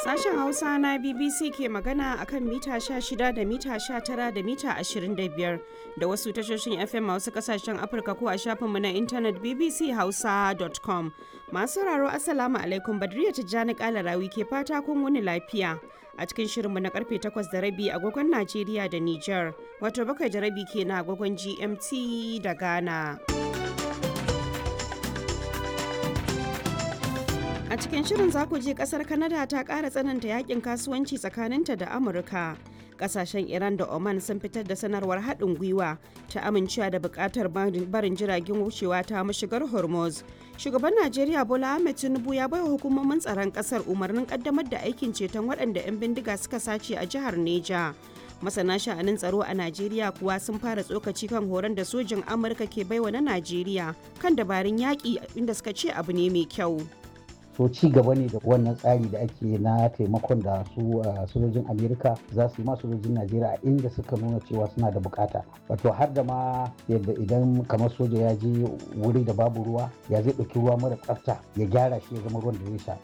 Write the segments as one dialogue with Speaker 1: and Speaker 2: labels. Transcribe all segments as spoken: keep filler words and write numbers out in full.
Speaker 1: Sashen Hausa na B B C ke magana akan mita sha shida da mita sha tara da mita ashirin da biyar da wasu tashoshin F M a wasu kasashen Afirka ko a shafinmu na intanet B B C hausa dot com. Masu sauraro, Assalamu alaikum, Badriya Tijjani Kalarawi ke fata kun wuni lafiya. A cikin shirinmu na karfe takwas da rabi agogon Najeriya da Nijar, wato bakwai da rabi kenan agogon G M T da Ghana. A cikin shirin za ku je kasar Canada ta ƙara tsananta yakin kasuwanci tsakaninta da Amurka. Kasashen Iran da Oman sun fitar da sanarwar haɗin gwiwa ta amincewa da buƙatar barin jiragen wucewa ta mashigar Hormuz. Shugaban Najeriya Bola Ahmed Tinubu ya baiwa hukumomin tsaron ƙasar umarnin ƙaddamar da aikin ceton waɗanda 'yan bindiga suka sace a jihar Neja. Masana sha'anin tsaro a Najeriya kuwa sun fara tsokaci kan horon da sojin Amurka ke baiwa na Najeriya kan dabarun yaƙi, inda suka ce abu ne mai kyau.
Speaker 2: So ci gaba ne da wannan tsari da ake na taimakon da su sojojin Amerika za su yi ma sojojin Najeriya a inda suka nuna cewa suna da bukata, wato har da ma yadda idan kamar soja ya je wuri da babu ruwa, ya zai ɗauki ruwa mara tsafta ya gyara shi ya zama ruwan da zai sha.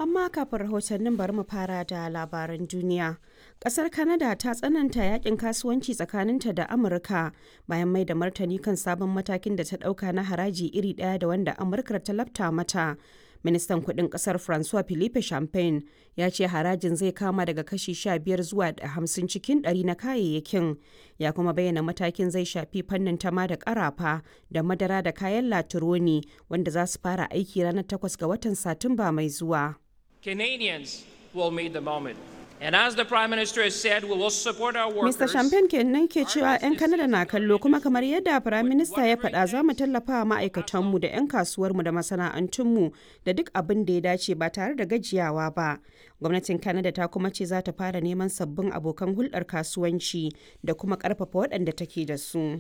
Speaker 1: Amma kafin rahotannin, bari mu fara da labaran duniya. Kasar Canada ta tsananta yakin kasuwanci tsakaninta da Amurka bayan mai da martani kan sabon matakin da ta dauka na haraji iri daya da wanda Amurka ta lafta mata. Ministan kudin kasar Francois Philippe Champagne ya ce harajin zai kama daga kashi sha biyar zuwa hamsin cikin ɗari na kayayyakin. Ya kuma bayyana matakin zai shafi fannin tama da karafa da madara da kayan latironi, wanda za su fara aiki ranar takwas ga watan Satumba mai zuwa.
Speaker 3: Canadians will meet the moment. And as the Prime Minister has said, we will support our workers.
Speaker 1: Mister Champagne kenan ke cewa 'yan Kanada na kallo, kuma kamar yadda Prime Minister ya faɗa, za mu tallafa wa ma'aikatanmu da 'yan kasuwarmu da masana'antunmu da duk abin da ya dace ba tare da gajiyawa ba. Gwamnatin Kanada ta kuma ce za ta fara neman sabbin abokan hulɗar kasuwanci da kuma ƙarfafa waɗanda take da su.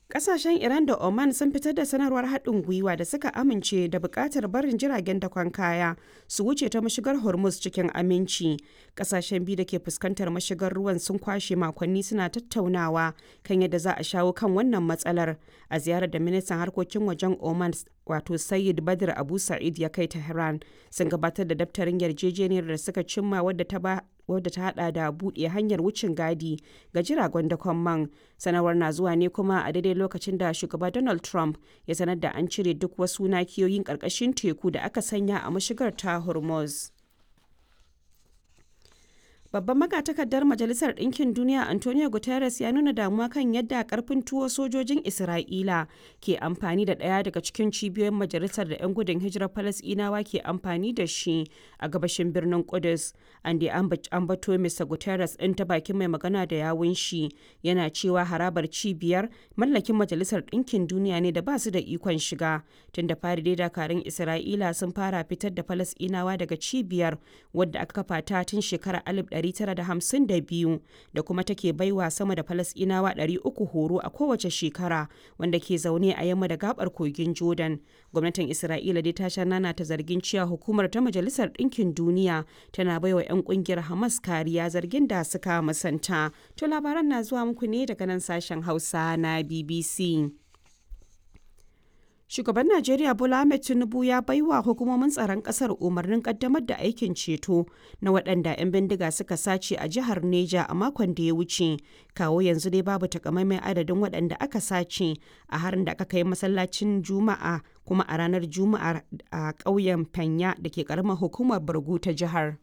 Speaker 1: Kasashen Iran da Oman sun fitar da sanarwar haɗin gwiwa da suka amince da buƙatar barin jiragen dakon kaya su wuce ta mashigar Hormuz cikin aminci. Kasashen biyu da ke fuskantar mashigar ruwan sun kwashe makonni suna tattaunawa kan yadda za a shawo kan wannan matsalar. A ziyarar da ministan harkokin wajen Oman, wato Sayyid Badr Abu Sa'id, ya kai Tehran, sun gabatar da daftarin yarjejeniyar da suka cimma, wadda ta ba wadda ta hada da buɗe hanyar wucin gadi ga jiragen dakon man. Sanarwar na zuwa ne kuma a daidai lokacin da shugaba Donald Trump ya sanar da an cire duk wasu nakiyoyin ƙarƙashin teku da aka sanya a mashigar ta Hormuz. Babban magatakardar Majalisar Ɗinkin Duniya Antonio Guterres ya nuna damuwa kan yadda karfin tuwo sojojin Isra'ila ke amfani da ɗaya daga cikin cibiyoyin majalisar da 'yan gudun hijirar Falasɗinawa ke amfani da shi a gabashin birnin Kudus. An da ambato Mister Guterres ɗin ta bakin mai magana da yawun shi yana cewa harabar cibiyar mallakin Majalisar Ɗinkin Duniya ne da ba su da ikon shiga. Tun da fari dai dakarun Isra'ila sun fara fitar da Falasɗinawa daga cibiyar, wadda aka kafa ta tun shekarar alif ɗari tara da hamsin da biyu, da kuma take baiwa sama da Falasɗinawa ɗari uku horo a kowace shekara wanda ke zaune a yamma da gabar kogin Jordan. Gwamnatin Isra'ila dai ta sha nana ta zargin cewa hukumar ta Majalisar Ɗinkin Duniya tana baiwa 'yan kungiyar Hamas kariya, zargin da suka musanta. To, labaran na zuwa muku ne daga nan sashen Hausa na B B C. Shugaban Najeriya Bola Ahmed Tinubu ya baiwa hukumomin tsaron kasar umarnin kaddamar da aikin ceto na waɗanda 'yan bindiga suka sace a jihar Neja a makon da ya wuce. Kawo yanzu dai babu takamaiman adadin waɗanda aka sace a harin da aka kai masallacin Juma'a kuma a ranar Juma'a a ƙauyen Fanya da ke ƙaramar hukumar Bargu ta jihar.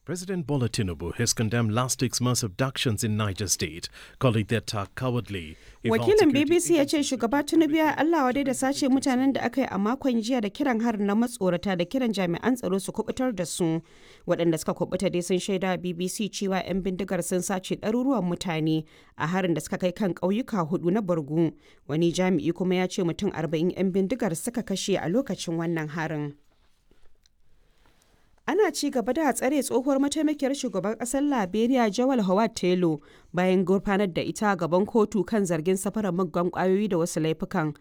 Speaker 4: President Bola Tinubu has condemned last week's mass abductions in Niger State, calling the attack cowardly.
Speaker 1: Wakilin B B C ya ce shugaba Tinubu ya Allah wadai da sace mutanen da aka yi a makon jiya da kiran harin na matsorata da kiran jami'an tsaro su kubutar da su. Waɗanda suka kubuta dai sun shaida B B C cewa 'yan bindigar sun sace ɗaruruwan mutane a harin da suka kai kan ƙauyuka hudu na Borgu. Wani jami'i kuma ya ce mutum arba'in 'yan bindigar suka kashe a lokacin wannan harin. Ana ci gaba da tsare tsohuwar mataimakiyar shugaban kasar Liberia Jawal Howard Taylor bayan gurfanar da ita gaban kotu kan zargin safarar muggan kwayoyi da wasu laifukan.